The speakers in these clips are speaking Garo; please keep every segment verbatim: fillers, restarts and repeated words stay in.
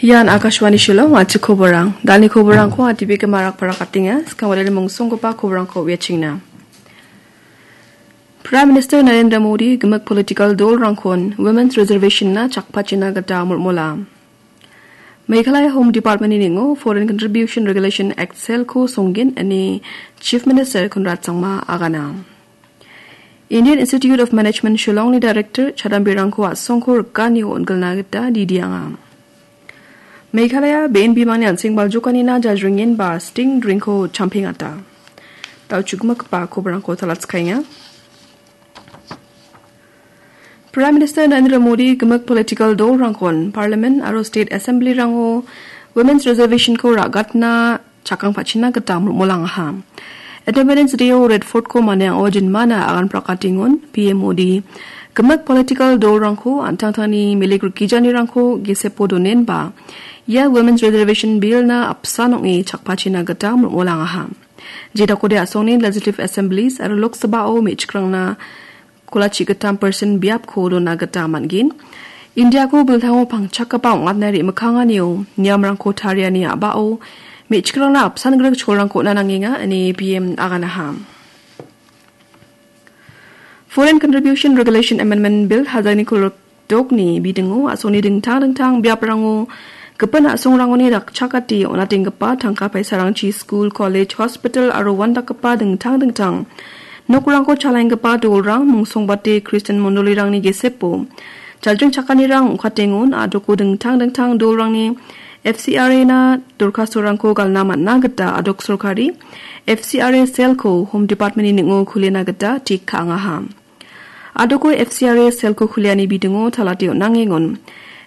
Ian Akashvani Shillong, a·chik koborang. Dani koborangko a T V kema rakparak atenga, skang wadani mungsonggipa koborangko uiachengna. Prime Minister Narendra Modi gimik political dolrangkon Women's Reservation-na chakpachina gita molmola. Meghalaya Home Department-ni ning·o Foreign Contribution Regulation Act cell-ko songgen ine Chief Minister Conrad Sangma agana. Indian Institute of Management Shillong-ni Director chadambirangko a·songko rikanio on·gilna gita didianga. Meghalaya be·en bimangni an·seng baljokanina jajringenba sting dring-ko champengata. Dal·chukgipa koborangko talatskaenga. Prime Minister Narendra Modi gimik political dolrangkon Parliament aro State Assembly-rango Women's Reservation-ko ra·gatna chakangpachina gita molmolangaha. Independence Day-o Red Fort-ko maniango jinmana agan prakatengon P M Modi gimik political dolrangko an·tangtangni milik rikijanirangko gesepo donenba ia Women's Reservation Bill-na apsan ong·e chakpachina gita molmolangaha. Jedakode a·songni Legislative Assemblies aro Lok Sabha-o me·chikrangna kolachi gittam persen biapko dona gita man·gen. Indiako biltango pangchakgipa ong·atna re·mikkanganio niamrangko tariani a·bao me·chikrangna apsan grik cholrangko on·a nangenga ine P M aganaha. Foreign Contribution Regulation Amendment Bill hajalni kolgrikdokni bidingo a·songni dingtang dingtang biaprango gipin a·songrangoni dakchakate on·atenggipa tangka paisarangchi skul, kolej, hospital aro uandakgipa dingtang dingtang nokrangko chalaenggipa dolrang, mungsongbate Kristian mondolirangni gesepo jajringchakanirang ong·katengon a·doko dingtang dingtang dolrangni F C R A-na dorkastorangko galna man·na gita a·dok sorkari F C R A cell-ko Home Department-ni ning·o kulena gita tik ka·angaha. A·doko F C R A cell-ko kuliani bidingo talate on·angengon.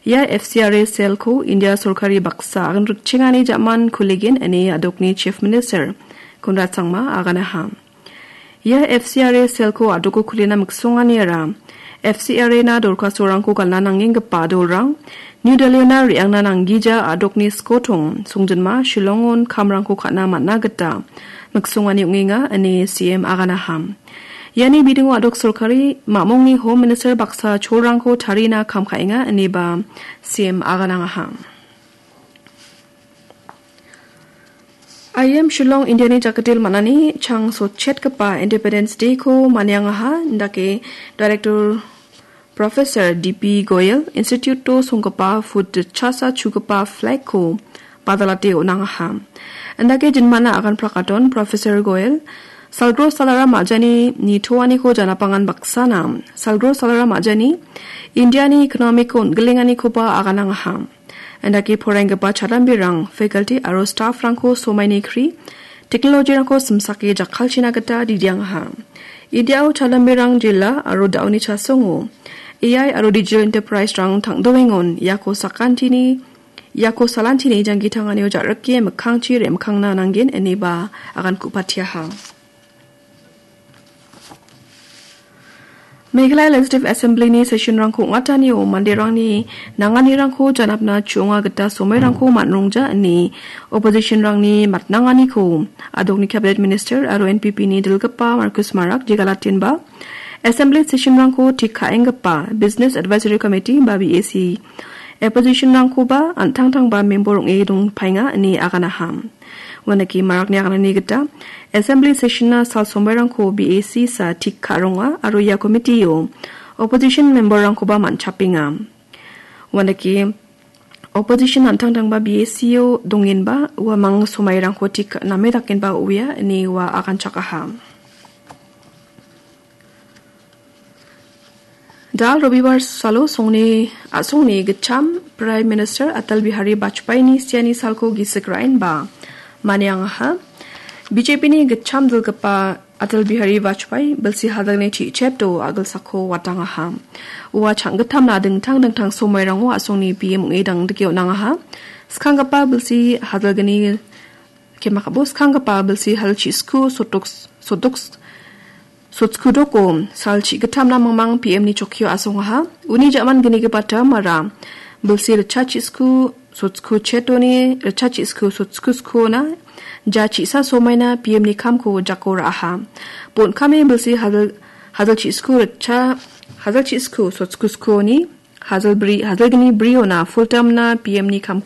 Ia F C R A cell-ko India sorkari baksa agan rikchengani ja·man kuligen ine a·dokni Chief Minister Conrad Sangma aganaha. Ia F C R A cell-ko a·doko kulina miksonganiara F C R A-na dorkastorangko galna nangenggipa dolrang, New Delhi-ona re·angna nanggija a·dokni skotong songjinma Shillongon kamrangko ka·na man·a gita miksongani ong·enga ine C M aganaham. Iani bidingo a·dok sorkari mamongni Home Minister baksa cholrangko tarina kam ka·enga ineba C M aganangaha. I I M Shillong Indiani jakdil man·ani chang sotchetgipa Independence Day-ko maniangaha, indake Director Professor D P Goyal Institute-o songgipa foot chasa chugipa flag-ko badalate on·angaha. Indake jinmana agan prakaton Professor Goyal salgro salara majani nitoaniko janapangan baksana salgro salara majani Indiani economic-ko on·gilenganikoba aganangaha. Indake poraienggipa chadambirang, faculty aro staff-rangko somaini kri, technology-rangko simsake jakkalchina gita didiangaha. Indiao chadambirang jela aro da·oni chasongo A I aro digital enterprise-rang tang·doengon iako sakantini, iako salantini janggi tanganio ja·rike mikkangchi re·mikkangna nanggen ineba agan ku·patiaha. Meghalaya Legislative Assembly-ni session-rangko ong·atanio manderangni nanganirangko janapna chu·onga gita somoirangko man·rongja ine opposition-rangni matnanganiko a·dokni Cabinet Minister aro N P P-ni dilgipa Marcus Marak jegalatenba Assembly session-rangko tik ka·enggipa Business Advisory Committee ba B A C opposition-rangkoba an·tangtangba member ong·e dongpaenga ine aganaham. Uanaki marakni aganani gita Assembly session-na sal somoirangko B A C sa tik ka·ronga aro ia committee-o opposition member-rangkoba man·chapenga. Uanaki opposition an·tangtangba B A C-o dongenba uamang somoirangko tik name dakenba uia ine ua aganchakaha. Dal Robibar salo songni, a·songni gitcham Prime Minister Atal Bihari Vajpayee-ni siani salko gisik ra·enba maniangaha. B J P-ni gitcham dilgipa Atal Bihari Vajpayee bilsi hadalni chi·cheto a·gilsako watangaha. Ua chang·gittamna dingtang dingtang somoirango a·songni P M ong·e dangdike on·angaha. Skanggipa bilsi hadalgni Kemakabo skanggipa bilsi hal chi·sku sotoks-, sotoks-, sotskudoko sal chi·gittamna mingmang P M-ni chokkio asongaha. Uni ja·man gnigipa tamara bilsi ritcha chi·sku sotsku chetoni ritcha chi·sku sotsku skuona ja chi·sa somaina P M-ni kamko jako ra·aha. Bon·kame bilsi hajal, hajal chi·sku ritcha, hajal chi·sku sotsku skuoni hajal bri-, hajalgni briona full term-na P M-ni kam